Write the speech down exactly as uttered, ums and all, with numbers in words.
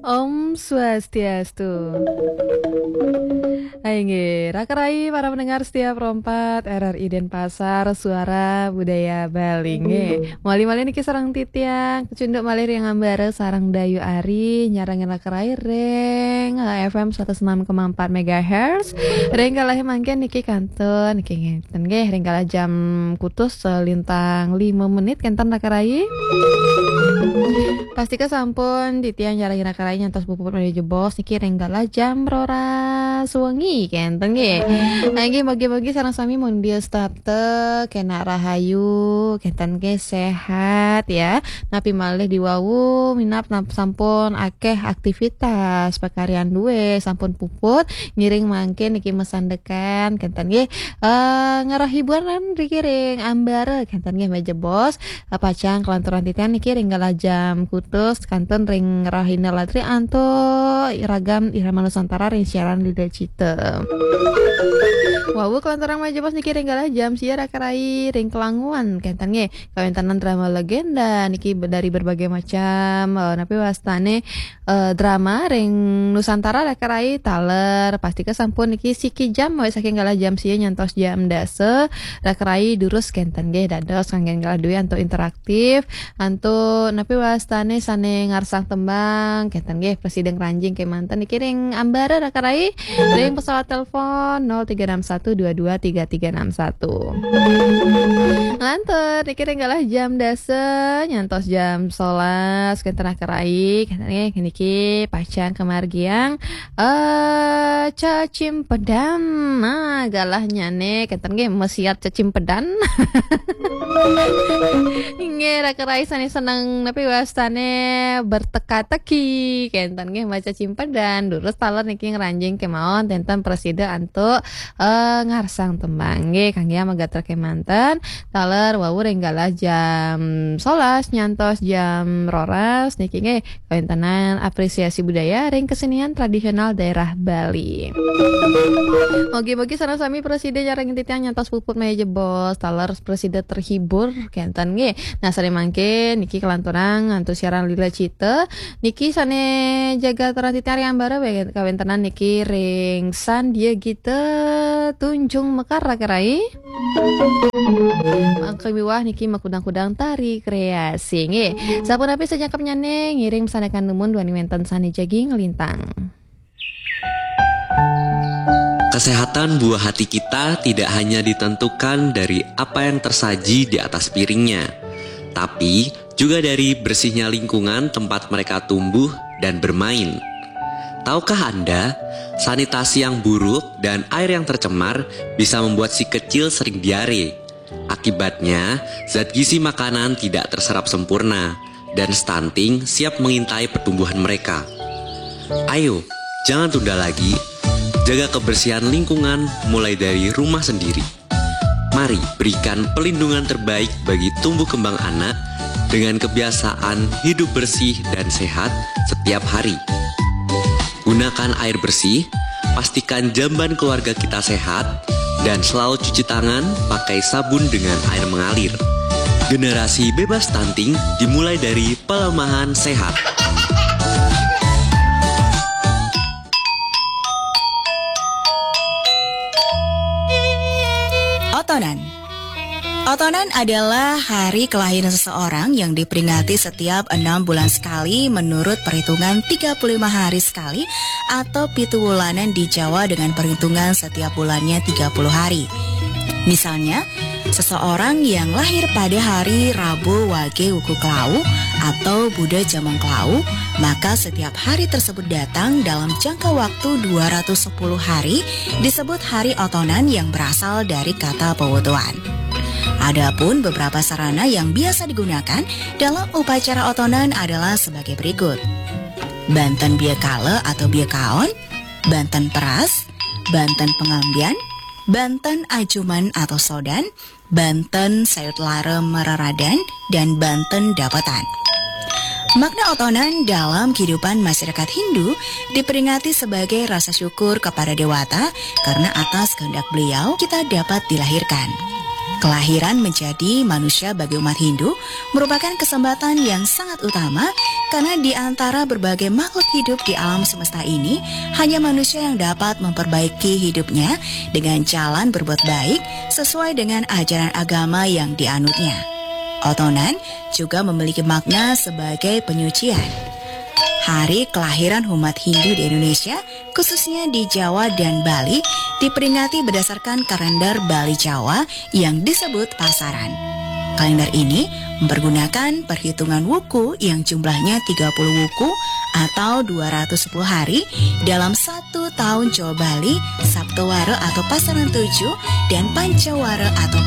Om Swastiastu. Hai nggih, raka rai para pendengar setia Pro empat R R I Denpasar, Suara Budaya Bali nggih. Mali-mali niki sareng titiang, kecunduk malih ring ambara sareng Dayu Ari, nyarengin raka rai ring, eh, F M seratus enam koma empat megahertz. Ring galah mangkin niki kantun, niki ngeten nggih, ring galah jam kutus, eh, lintang lima menit kenten raka rai. Pastika sampun titiang nyarengin raka rai nyantos puput malih jebos niki ring galah jam roras wengi kenten nggih. Nggih, mugi-mugi sareng sami mundil setata, kena rahayu, kenten nggih, sehat ya. Napi malih diwawu minab nap-, sampun akeh aktivitas pakaryan duwe, sampun puput, ngiring mangkin niki masandekan kenten nggih. Eh, ngarah hiburan riki ring ambara kenten nggih, malih jebos. Eh, pacang kalanturan titiang niki ring galah jam kutus kantun ring rahina latri antuk ragam irama Nusantara ring siaran Lida Cita. Wawu kalanturan malih jebos niki ring galah jam sia raka rai ring kelanguan kenten nggih. Kawentenan drama legenda niki be-, dari berbagai macam, eh, napi wastane, eh, drama ring Nusantara raka rai taler. Pastika sampun niki siki jam, mulai saking galah jam sia nyantos jam dasa raka rai durus kenten nggih, dados kanggen galah duwe antuk interaktif, antuk napi wastane sane ngarsang tembang kenten nggih, prasida ngranjing kemanten niki ring ambara raka rai ring pesawat telepon nol tiga enam satu dua dua tiga tiga enam satu. Lantur niki ring galah jam dasa nyantos jam sebelas kenten raka rai kenten nggih, niki pacang kamargiang, eh, cacimpedan. Nah, galahnyane kenten nggih, mesiat cacimpedan. Nggih, raka rai sane seneng napi wastane berteka-teki kenten nggih, maca cimpedan. Durus taler niki ngranjing kemawon, kenten prasida antuk, eh, ngarsang tembang nggih, kangge amagatra kemanten. Taler wawu ring galah jam sebelas nyantos jam roras niki nggih, kawentenan apresiasi budaya ring kesenian tradisional daerah Bali. Mugi-mugi sareng sami prasida nyarengin titiang nyantos puput malih jebos, taler prasida terhibur kenten nggih. Nah, sane mangkin niki kalanturang antuk siaran Lila Cita niki sane jaga aturang titiang ring ambara we-, kawentenan niki ring Sandia Gita Tunjung Mekar raka rai. Mangke miwah niki makudang-kudang tari kreasi nggih. Sapunapi sajangkepnyane ngiring masandekan dumun duaning wenten sane jagi nglintang. Kesehatan buah hati kita tidak hanya ditentukan dari apa yang tersaji di atas piringnya, tapi juga dari bersihnya lingkungan tempat mereka tumbuh dan bermain. Tahukah Anda, sanitasi yang buruk dan air yang tercemar bisa membuat si kecil sering diare. Akibatnya, zat gizi makanan tidak terserap sempurna dan stunting siap mengintai pertumbuhan mereka. Ayo, jangan tunda lagi. Jaga kebersihan lingkungan mulai dari rumah sendiri. Mari berikan pelindungan terbaik bagi tumbuh kembang anak dengan kebiasaan hidup bersih dan sehat setiap hari. Gunakan air bersih, pastikan jamban keluarga kita sehat, dan selalu cuci tangan pakai sabun dengan air mengalir. Generasi bebas stunting dimulai dari pelemahan sehat. Otonan. Otonan adalah hari kelahiran seseorang yang diperingati setiap enam bulan sekali menurut perhitungan tiga puluh lima hari sekali atau pitu wulanan di Jawa dengan perhitungan setiap bulannya tiga puluh hari. Misalnya, seseorang yang lahir pada hari Rabu Wage Wuku Klawu atau Buddha Jamang Klawu, maka setiap hari tersebut datang dalam jangka waktu dua ratus sepuluh hari disebut hari otonan yang berasal dari kata pewotoan. Adapun beberapa sarana yang biasa digunakan dalam upacara otonan adalah sebagai berikut. Banten biakala atau biakaon, banten peras, banten pengambian, banten ajuman atau sodan, banten sayut lara meraradan, dan banten dapatan. Makna otonan dalam kehidupan masyarakat Hindu diperingati sebagai rasa syukur kepada dewata karena atas kehendak beliau kita dapat dilahirkan. Kelahiran menjadi manusia bagi umat Hindu merupakan kesempatan yang sangat utama karena di antara berbagai makhluk hidup di alam semesta ini, hanya manusia yang dapat memperbaiki hidupnya dengan jalan berbuat baik sesuai dengan ajaran agama yang dianutnya. Otonan juga memiliki makna sebagai penyucian. Hari kelahiran umat Hindu di Indonesia, khususnya di Jawa dan Bali, diperingati berdasarkan kalender Bali Jawa yang disebut Pasaran. Kalender ini mempergunakan perhitungan wuku yang jumlahnya tiga puluh wuku atau dua ratus sepuluh hari dalam satu tahun Jawa Bali, Saptowara atau Pasaran tujuh, dan Pancawara atau Pasaran